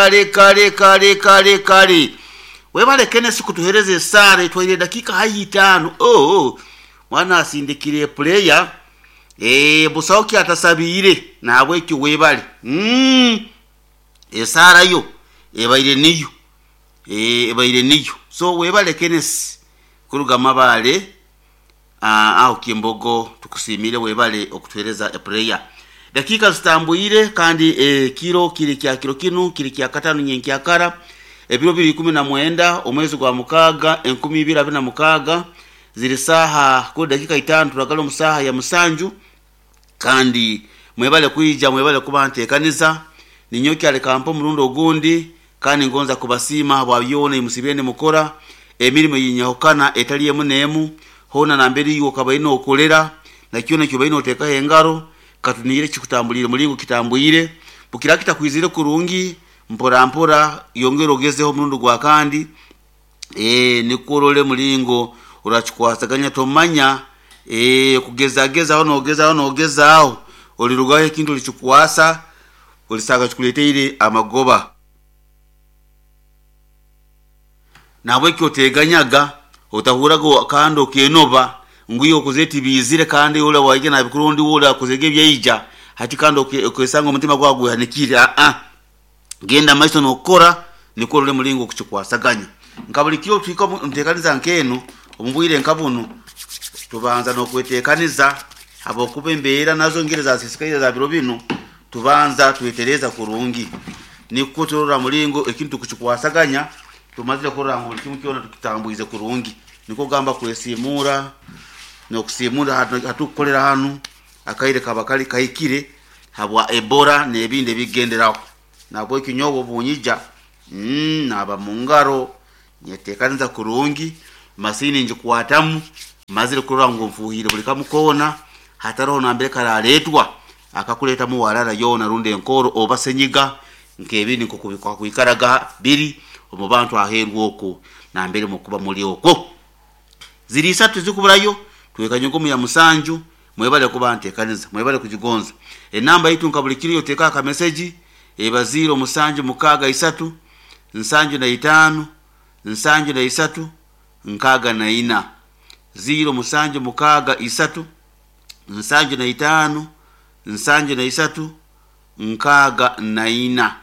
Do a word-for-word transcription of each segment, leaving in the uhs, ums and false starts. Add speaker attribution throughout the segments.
Speaker 1: Kale kale kale kale kale webale Kenneth kutuhereza esaara etwaire edakika haihi itaano. Oh, oh. Mwana asindikire puleya eh, busaho kyatasabiire nahabwekyo webale mm. Esaara yo ebaire niyo eh, ebaire niyo so webale Kenneth kuruga Mabale ah, aho Kimbogo tukusiimire webale okutuhereza epuleya. Dakika zitambwire kandi ekiro kiri kya kiro kinu kiri kya katano nyenkyakara ebiro biri ikumi na mwenda omwezi gwa mukaaga enkumi ibiri abiri na mukaaga ziri saaha kuri dakika itaano turagala omu saaha ya musanju. Kandi mwebale kwija, mwebale kuba nteekaniza. Ninyowe kyaleka mpa omurundi ogundi kandi ngonza kubasiima habwa byona ebimusibire nimukora emirimo eyinyahukana etali emu n'emu. Hoona nambere iwe okaba oine okolera na kyona ekyobaire noteekaho engaro katuniire kikutambulire mulingo kitambwire. Bukira kitakwizire kurungi mpora mpora yongera ogezeho omurundi gwa kandi eh, nikwo orole mulingo orakikwasaganya. Tomanya eh, kugezagezaho nogezaho nogezaho olirugaho ekintu olikikwasa olisanga kikuleteire amagoba. Nahabwekyo oteganyaga, otahuraga kandi okenoba ngu iwe okoze tibiizire kandi ori waija nabikora ondi we akozege ebyaija hati kandi okesanga omutima gwawe gwehanikire. Aa, genda maiso nokukora nikwo orole mulingo okukikwasaganya. Nka buli kiro tuhika omu nteekaniza nk'enu omu bwire nka bunu tubanza n'okweteekaniza habwokuba embeera nazo ngeri zasisikaire za biro binu, tubanza twetereza kurungi nikwo turora mulingo ekintu tukukikwasaganya tumazire kurora ngu buli kimu kyona tukitambwize kurungi. Nikwo kugamba kwesiimuura n'okusiimuura hatukukolera hanu akaire kaba kali kahikire habwa Ebola n'ebindi ebikugenderaho. Nahabwekyo nyowe obunyija mm, naaba mungaro nyeteekaniza kurungi, masiini ngikwatamu mazire kurora ngu nfuuhire buli kamu koona hataroho nambere karaletwa akakuleetamu warara yoona rundi enkooro oba senyiga nk'ebindi nk'oku bikwakwikaraga biri omu bantu aheeru okwo nambere mukuba muli okwo. Ziri isatu tizikuburayo twekanye nkomu ya musanju. Mwebale kuba nteekaniza, mwebale kugigonza. Enamba yaitu nka buli kiro oteekaho akameseji eba ziiro musanju mukaaga isatu nsanju na itaano nsanju na isatu nkaaga na ina, ziiro musanju mukaaga isatu nsanju na itaano nsanju na isatu nkaaga na ina.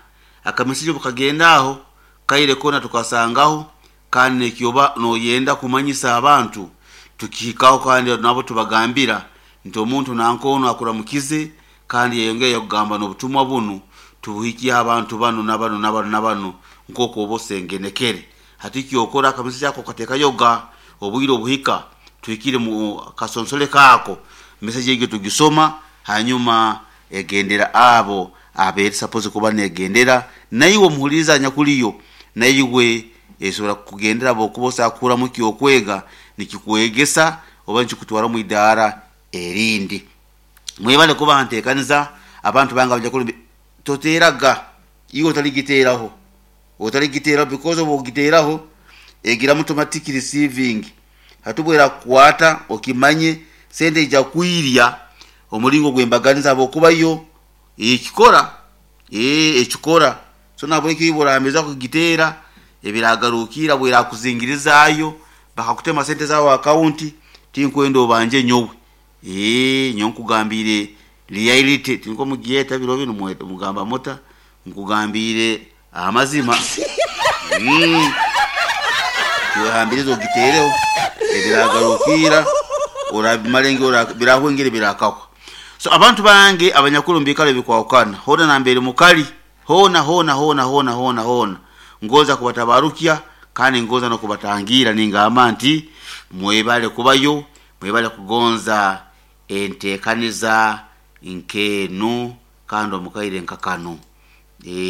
Speaker 1: Akameseji obu kagenda aho kaire koona tukasangaho kandi nekyoba noyenda kumanyisa abantu tukihikaho kandi nabo tubagambira nti omuntu nanka onu akuramukize kandi yayongera yakugamba n'obutumwa bunu tubuhikye abantu banu na banu na banu na banu nk'oku oba osengenekere. Hati kyokora akameseji ako okateekayoga obwire obuhika tuhikire mu kasonsole kaako meseji egyo tugisoma hanyuma egendera abo abeeri supposed kuba negendera. Naiwe omuhuliriza anyakuliyo naiwe esobora kukugendera habwokuba osobola kuhuramu ekyokwega nikikwegesa oba nikikutwara omu idaara erindi. Mwebale kuba nteekaniza abantu bange abanyakulumbi toteeraga iwe otaligiteeraho, otaligiteeraho because obu okugiteeraho egiramu automatic receiving. Hati obu erakukwata okimanye sente ija kwirya omulingo gw'embaganiza habwokuba yo ekikora ee ekikora. So nahabwekyo iwe orahamiza kugiteera ebiragarukiira bwerakuzingirizaayo bakakutema sente zaawe akawunti tinkwenda obanje nyowe. Ee nyowe nkugambiire reality tinko mugyeta biro binu mugamba muta nkugambiire amazima. Mm. Tiwehambirize ogiteereho ebiragarukiira orabimara birahwengere birakahwa. So abantu bange abanyakuru omu biikaro ebikwahukana hoona nambere mukali hoona hoona hoona hoona hoona hoona ngonza kubatabarukya kandi ngonza n'okubatangiira ningamba nti mwebale kubayo, mwebale kugonza enteekaniza nk'enu kandi omu kaire nka kanu.